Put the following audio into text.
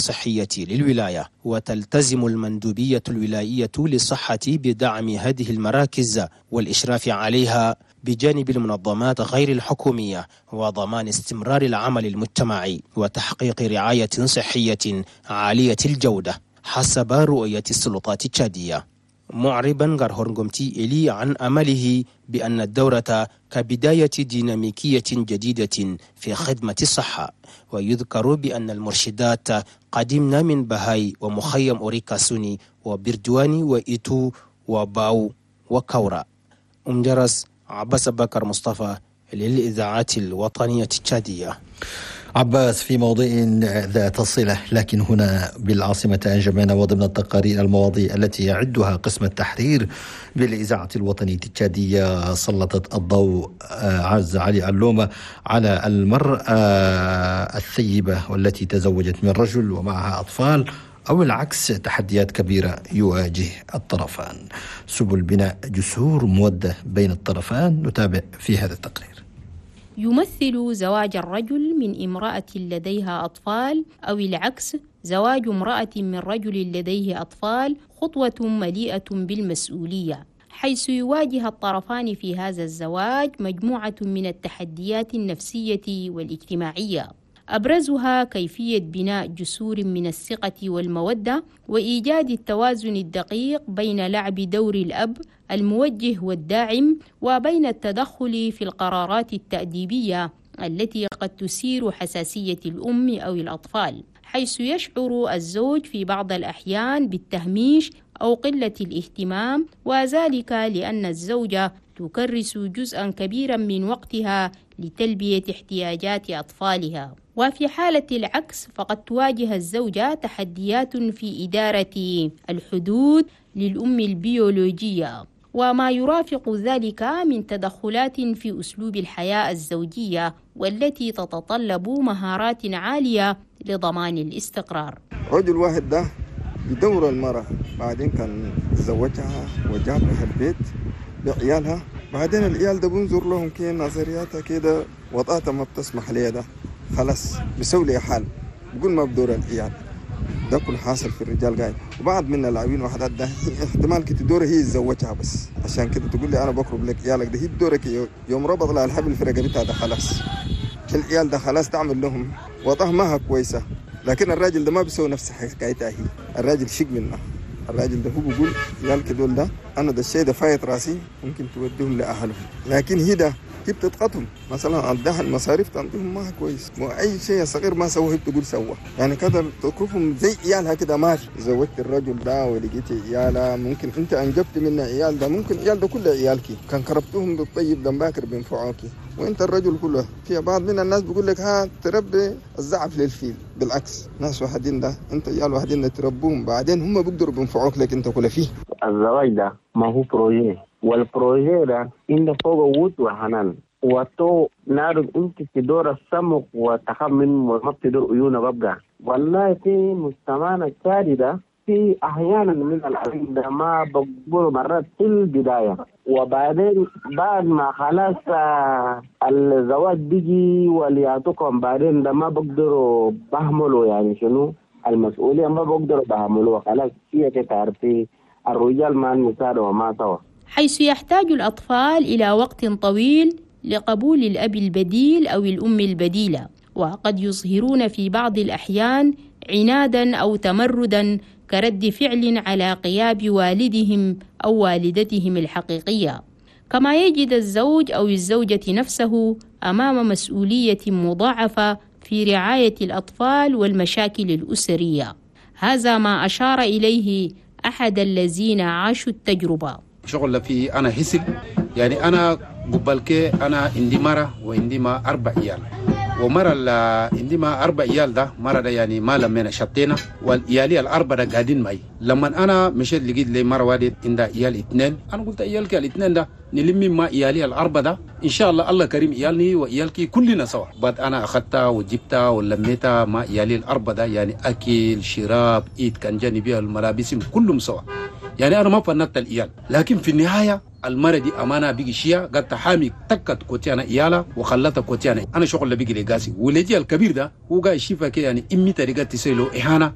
الصحية للولاية. وتلتزم المندوبية الولائية للصحة بدعم هذه المراكز والإشراف عليها بجانب المنظمات غير الحكومية وضمان استمرار العمل المجتمعي وتحقيق رعاية صحية عالية الجودة حسب رؤية السلطات التشادية. معربا غارهورنغومتي إلي عن أمله بأن الدورة كبداية ديناميكية جديدة في خدمة الصحة. ويذكر بأن المرشدات قدمنا من بهاي ومخيم أوريكاسوني وبردواني وإيتو وباو وكورا. أم جرس، عباس بكر مصطفى للإذاعات الوطنية التشادية. عباس، في موضوع ذات صلة لكن هنا بالعاصمة أنجمينا، وضمن التقارير المواضيع التي يعدها قسم التحرير بالإذاعة الوطنية التشادية، سلطت الضوء عز علي علومة على المرأة الثيبة والتي تزوجت من رجل ومعها أطفال أو العكس، تحديات كبيرة يواجه الطرفان، سبل بناء جسور مودة بين الطرفان. نتابع في هذا التقرير. يمثل زواج الرجل من امرأة لديها أطفال أو العكس، زواج امرأة من رجل لديه أطفال، خطوة مليئة بالمسؤولية، حيث يواجه الطرفان في هذا الزواج مجموعة من التحديات النفسية والاجتماعية، أبرزها كيفية بناء جسور من الثقة والمودة وإيجاد التوازن الدقيق بين لعب دور الأب الموجه والداعم وبين التدخل في القرارات التأديبية التي قد تثير حساسية الأم أو الأطفال، حيث يشعر الزوج في بعض الأحيان بالتهميش أو قلة الاهتمام، وذلك لأن الزوجة تكرس جزءا كبيرا من وقتها لتلبية احتياجات أطفالها. وفي حالة العكس، فقد تواجه الزوجة تحديات في إدارة الحدود للأم البيولوجية وما يرافق ذلك من تدخلات في أسلوب الحياة الزوجية، والتي تتطلب مهارات عالية لضمان الاستقرار. رجل واحد ده يدور المرأة، بعدين كان تزوجها وجابها البيت بعيالها، بعدين العيال ده بنظر لهم كي نظرياتها كده وضعتها ما بتسمح لي، ده خلاص بيسوي لي حال، بقول ما بدور العيال ده. كل حاصل في الرجال قاعد، وبعض من اللاعبين وحدات ده احتمال كده دورة هي تزوجها، بس عشان كده تقول لي انا بقرب لك عيالك ده، هي بدورك يوم ربط لها الحبل في رقبتها ده خلاص العيال ده خلاص تعمل لهم وضعها ما كويسه. لكن الراجل ده ما بيسوي نفس حكايتها هي، الراجل شق منها. الراجل ده هو بيقول عيالك دول ده انا ده الشيء ده فايت راسي، ممكن توديهم لاهلهم، لكن هي ده هي بتضغطهم، مثلا عندها المصاريف تعطيهم ما كويس، واي شيء صغير ما سووه هي بتقول سوى، يعني كده تكرفهم زي عيالها كده. ما في زوجت الرجل ده ولقيتي عيالها، ممكن انت انجبت منه عيال ده، ممكن عيال ده كله عيالك، كان كربتهم بالطيب ده باكر بينفعوكي. وانت الرجل كله في بعض من الناس بيقول لك ها تربي الزعف للفيل، بالعكس ناس واحدين ده انت عيال واحدين ده تربوهم بعدين هم بيقدروا بينفعوك لك انت كله فيه. الزواج ده ما هو projet، وال projet ده انت فوق ود وحنان وتو نعرف انت تدور السمك وتخمن وما بتدور عيونه ببقى. والله في مجتمعنا التالي ده في احيانا من العلم ده ما بقبلوا مرات في البدايه، وبعدين بعد ما خلاص الزواج بيجي وليعطوكم بعدين ده ما بقدروا بهملوا، يعني شنو المسؤوليه ما بقدروا بهملوها خلاص، هي تعرفي الرجال مع النساء وما سوا. حيث يحتاج الأطفال إلى وقت طويل لقبول الأب البديل أو الأم البديلة، وقد يظهرون في بعض الأحيان عنادا أو تمردا كرد فعل على غياب والدهم أو والدتهم الحقيقية. كما يجد الزوج أو الزوجة نفسه أمام مسؤولية مضاعفة في رعاية الأطفال والمشاكل الأسرية. هذا ما أشار إليه أحد الذين عاشوا التجربة. شغل في أنا حسب، يعني أنا قبل كي أنا عندي مرة وعندي ما 4 عيال، ومرة عندي ما 4 عيال ده مرة ده يعني ما لمينا شطينا، والعيالي ال4 ده قاعدين معي. لما أنا مشيت لقيت لي مرة واحدة عندها عيال 2، أنا قلت عيالك ال2 ده نلمي ما عيالي ال4 ده إن شاء الله الله كريم عيالني وعيالك كلنا سوا. بعد أنا أخذتها وجبتها ولميتها ما عيالي ال4 ده، يعني أكل شراب إيد كان جانبي الملابس كلهم سوا، يعني أنا ما فنت العيال. لكن في النهاية المرة دي أمانة بيجي شيا قد تحامي تكت كوتيانا إيالا وخلتها كوتيانا. أنا شغل بيجي لقاسي ولدي الكبير ده هو قاعد يشوفها كده، يعني إمي طريقة تسيلو إهانة.